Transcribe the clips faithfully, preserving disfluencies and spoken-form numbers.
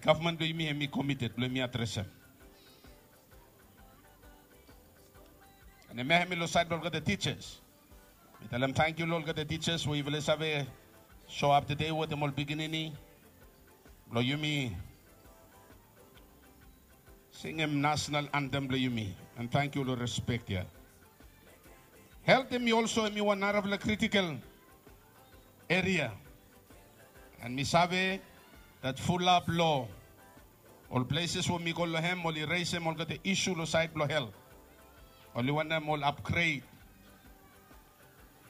Gavman blong yumi hemi komited blong yumi adresem. An hemia hemi long sait blong olgeta tijas. Mi talem tangkiu long olgeta tijas we yufala i save soap tede wetem ol pikinini blong yumi singim nasonal antem blong yumi. An tangkiu long respek ya. Helt hemi olso hemi wan narafala kritikal eria. An mi save dat fulap long ol pleses we mi go long hem oli resem olgeta isu long sait blong helt. Oli wantem ol apgred.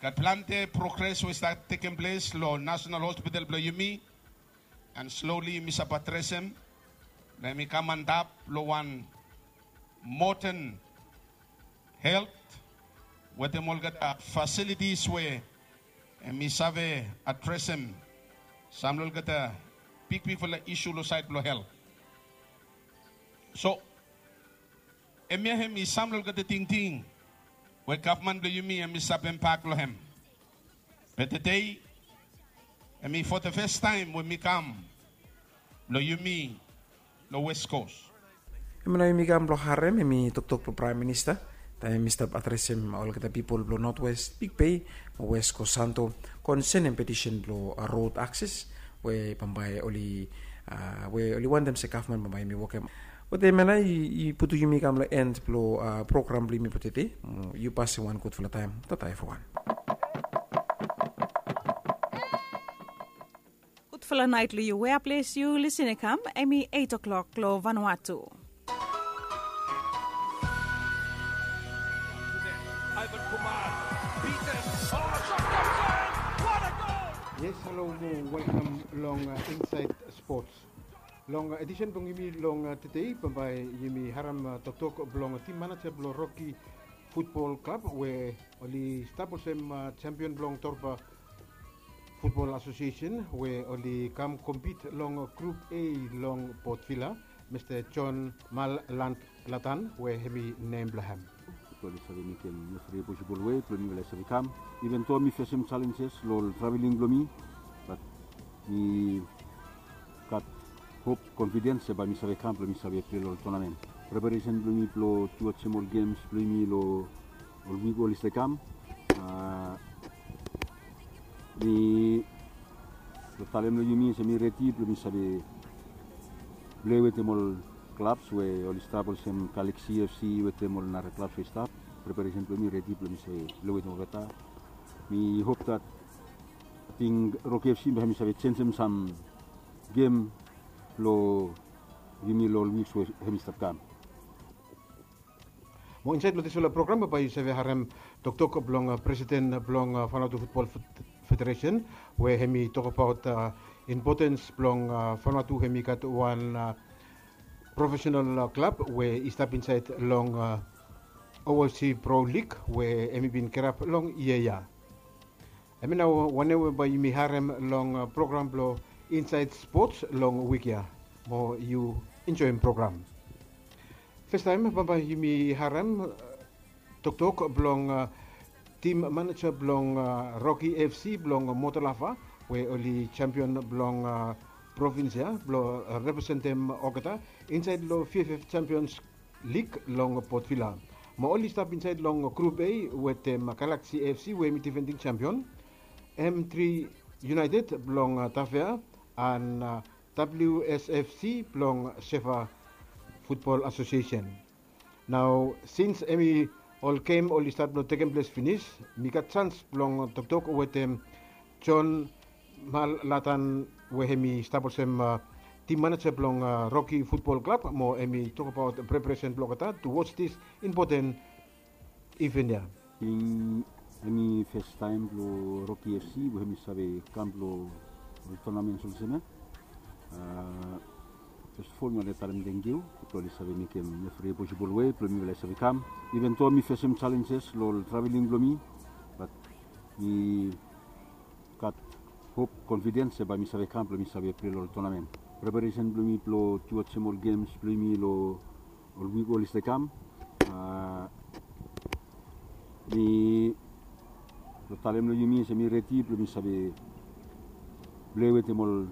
Gat plante progres we i stat tekem ples long nasonal hospital blong yumi. An sloli yumi save adresem blong hemi kam antap long wan moden helt wetem olgeta fasilitis we hemi save adresem sam long olgeta bigbigfala isu long sait blong helt. So hemia hemi sam long olgeta tingting we gavman blong yumi hemi stap empak long hem. Be tede hemi fo de fes taem we mi kam long yumi long West Coast. Hemia nao yumi kam blong harem hemi toktok blong Praem Minista taem hemi stap adresem olgeta pipol blong Northwest Big Bay mo West Coast Santo konsenem petisen blong rod akses we bambae oli we oli wantem se gavman bambae hemi wokem. Wetem hemia nao i putum yumi kam long en blong program blong yumi blong tede. Yu pasem wan gudfala taem. Tata evriwan. Gudfala naet long yu wea ples yu lisin i kam. Hemi eit o'klok long Vanuatu. Yes, halo mo welkam long Insaed Spots. Long edisen blong yumi long tede bambae yumi harem toktok blong tim maneja blong Rocky Futbol Klab we oli stap olsem sempion blong Torba Futbol Asosiesen we oli kam kompit long Grup A long Port Vila, Mista John Malland Latan we hemi nem blong hem. Oli save mekem evri posibol wei blong mifala i save kam. Iven do mi fesem jalenjes long ol traveling blong mi, bat mi gat hop, konfidens se bae mi save kam blong mi save pilei long ol tonamen. Preparesen blong mi blong tuwajem ol gems blong yumi long ol wik oli save kam. Mi long talem long yumi se mi redi blong mi save pilei wetem ol klabs we oli stap olsem Galaxy FC wetem ol nara klabs we i stap. Preparesen blong mi redi blong mi save pilei wetem olgeta. Mi hop dat ating Rocky FC bae hemi save jenjem sam gem blong yumi long ol wiks we hemi stap kam. Mo insaed long disfala program bae yu save harem toktok blong presiden blong Vanuatu Futbol Federesen we hemi tokbaot impotens blong Vanuatu hemi gat wan profesenal klab we i stap insaed long OFC Pro Lig we hemi bin kirap long yia ya. Hemia nao wanem we bae yumi harem long program blong Insaed Spots long wik ya. Mo yu enjoem program. Festaem bambae yumi harem toktok blong tim maneja blong Rocky FC blong Motolava we oli sempion blong provins ya blong representem olgeta insaed long VFF Sempions Lig long Port Vila. Mo oli stap insaed long Grup A wetem Galaxy FC we hemi difending sempion, M tri United blong Tafea, an WSFC blong Sefa Futbol Asosiesen. Nao sins hemi ol gem oli stat blong tekem ples finis, mi gat jans blong toktok wetem John Malatan we hemi stap olsem tim maneja blong Rocky Futbol Klab mo hemi tokbaot preparesen blong olgeta towards this important event ya. Hemi festaem blong Rocky FC we hemi save kam blong ol tonamens olsem ya. Fes of ol mi wantem talem tangkiu blong oli save mekem evri posibol wei blong mifala i save kam. Iven do mi fesem jalenjes long ol traveling blong mi, bat mi gat hop, konfidens se bae mi save kam blong mi save pilei long ol tonamen. Preparesen blong mi blong tuwajem ol gems blong yumi long ol wik oli save kam. Mi long talem long yumi se mi redi blong mi save pilei wetem ol